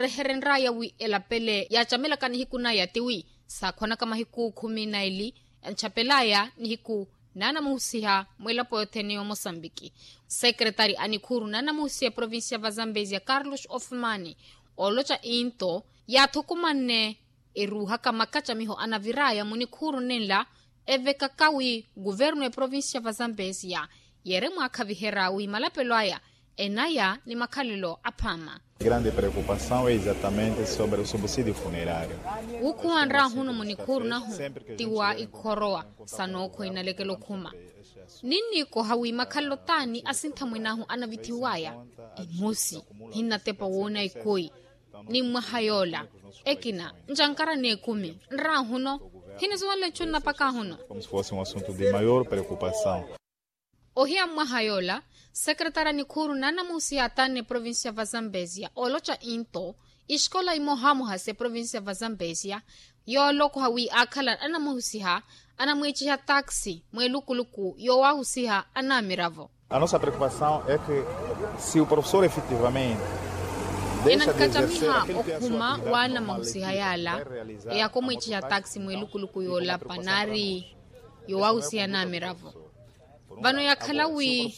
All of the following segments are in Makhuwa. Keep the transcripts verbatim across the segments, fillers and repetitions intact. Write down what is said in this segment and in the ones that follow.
Reherenraya wi elapele yaacamelaka nihiku naya tiwi saakhwanaka mahiku khumi na eli, yanchapelaya nihiku naanamuhusiha mwilapo yothene yomosambiki. Sekeretari a nikhuuru naanamuhusiha provincia va zambezia carlos ofumani, ooloca into yaathukumanne eruuhaka makacamiho anaviraya munikhuuru nenla evekaka wi kuvernu eprovincia va zambezia yeere mwaakhaviherya wi malapelo aya enaya ni makhalelo aphaama. Grande preocupação é exatamente sobre o subsídio funerário. Wukhuwa nraahuno munikhuuru nahu ti wa ikhorowa sa nookhwa inalekela okhuma. Ninniikoha wi makhalelo taani asintha mwinaahu anavithiwaya imosi hinnatepa woona ikoi ni mwaha yoola ekina ncankara n'ekumi nraahuno hinisuwanle nchu nnapaka ahuno. Como se fosse um assunto de maior preocupação. Ohiya mwaha yoola sekeretari a nikhuuru naanamuhusiha ataanne provincia va zambezia ooloca into isikola imohamoha se provincia va zambezia yoolokoha wi aakhala anamuhusiha anamwiiciha taxi mweelukuluku yoowahusiha anaamiravo. A nossa preocupação é que se o professor efetivamente enankhacamiha okhuma waana mahusiha yaala eyaka omwiiciha taxi mweelukuluku yoolapa naari yowahusiha anaamiravo. Vano yakhala wi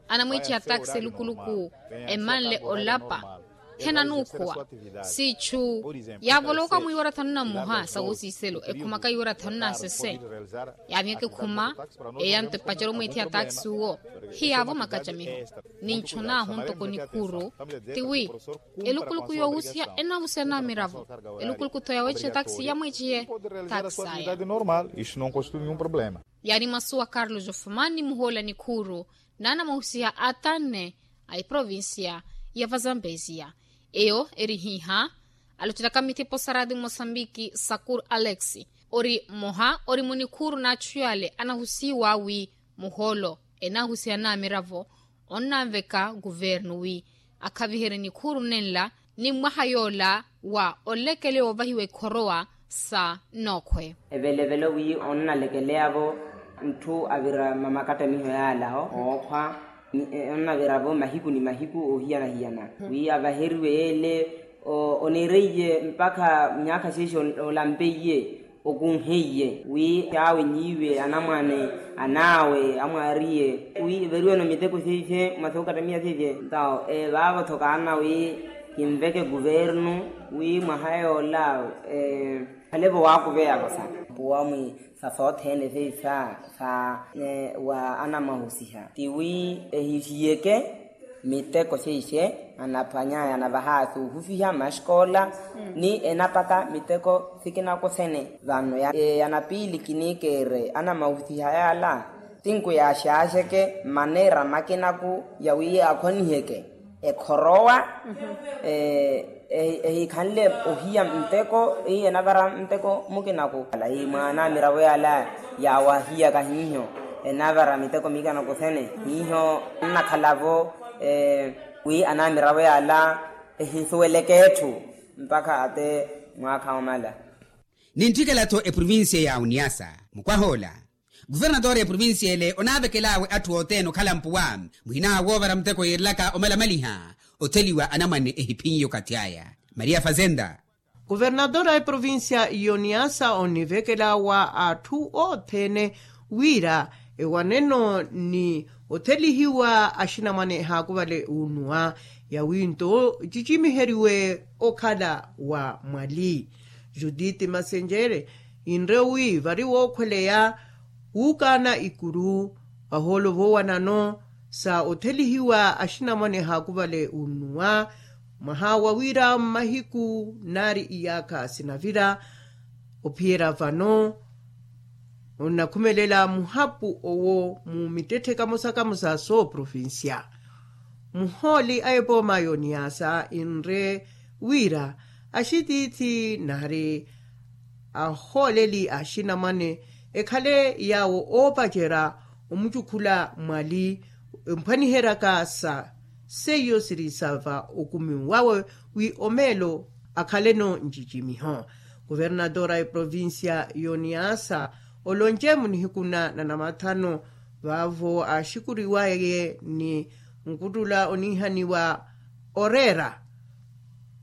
anamwiichiha taxi elukuluku emanle olapa henanuukhuwa siichu yaavolowoka mwiiwara thanu na mmoha sa wosiiselo ekhumaka iwara thanu na sese. Yaaviyaka ekhuma eyanto epacerya omwiithiha taxi uwo hiyaavo makacamiho. Ninchonaahu ntoko nikhuuru tiwi elukuluku yoohusiha enaahusiha anaamiravo elukuluku tho yaweechiha taxi yamwiichihe taxi aya. Normal isto não constitui nenhum problema. Yaari masu wa carlos ofumani muhoola nikhuuru naanamuhusiha atanne a eprovincia ya vazambezia. Eyo eri hiiha alocelaka mithipo sa radi mosambiki sakur alex ori mmoha ori munikhuuru n'achu yale anahusiwa wi muhoolo enaahusiha anaamiravo onnanveka kuvernu wi akhaviherye nikhuuru nenla ni mwaha yoola wa olekele woovahiwa ekhorowa sa nookhwe. Evelevelo wi onnalekeleyavo ntthu avira mamakatamiho yaalaho ookhwa onnaviravo mahiku ni mahiku oohiyana-hiyana wi avaheriwe yeele onireiye mpakha myaakha xexe olampeiye okunheiye wi awe n'iwe anamwane an'awe amwaariye wi everiweno miteko xeixe mwasookatamiya xeixe. Ntawo evaavo-tho kaana wi kinveke kuvernu wi mwaha yoola khalevo waakuveyavo sa mpuwa mwi sa sothene xeixa sa wa anamwahusiha tiwi ehixiyeke miteko xeixe anaphwanyaya anavaha suuhufiha maxkola ni enapaka miteko sikinaku sene vano ya ya napiili kiniikeere anamahusiha yaala sinku yaaxaaxeke maneera makinaku yawi akhwaniheke ekhorowa ehikhanle ohiya nteko eyi enavara nteko mukinaku alayi mwa anamiravo yaala yaawahiyaka hiiho enavara miteko mikinaku sene hiiho nnakhalavo wi anamiravo yaala ehisuweleke etthu mpakha ate mwaakha omala. Nintthikela-tho eprovincia ya uniasa mukwah'ola kuvernatore eprovincia ele onaavekel'awe atthu othene okhala mpuwa muhina woovara muteko yiirilaka omalamaliha otheliwa anamwane ehiphinyi okathi aya maria fazenda. Kuvernatore a eprovincia y'oniasa onivekel'awa atthu othene wira ewaneno ni othelihiwa axinamwane ehaakuvale unuwa yawi nto ecicimiheriwe okhala wa mwali judith masenjere inre wi vari wookhweleya wuukaana ikuru vahoolo voowanano sa othelihiwa axinamwane ehaakuvale unnuwa mwaha wa wira mmahiku naari iyaakha sinavira ophiyerya vano onnakhumelela muhapu owo mu mittetthe kamosa kamosa sooprovincia muhooli a epooma y'oniyaasa inre wira axitiithi nari ahooleli axinamwane ekhale yaawo oopacerya omucukhula mwali emphwaniheryaka sa seiyo siri sa va okumi wawe wi omeelo akhaleno ncicimiho kuvernatore a eprovincia y'oniyaasa olonce munihiku na nanamathano vaavo aaxikuriwaye ni nkuttula oniihaniwa oreera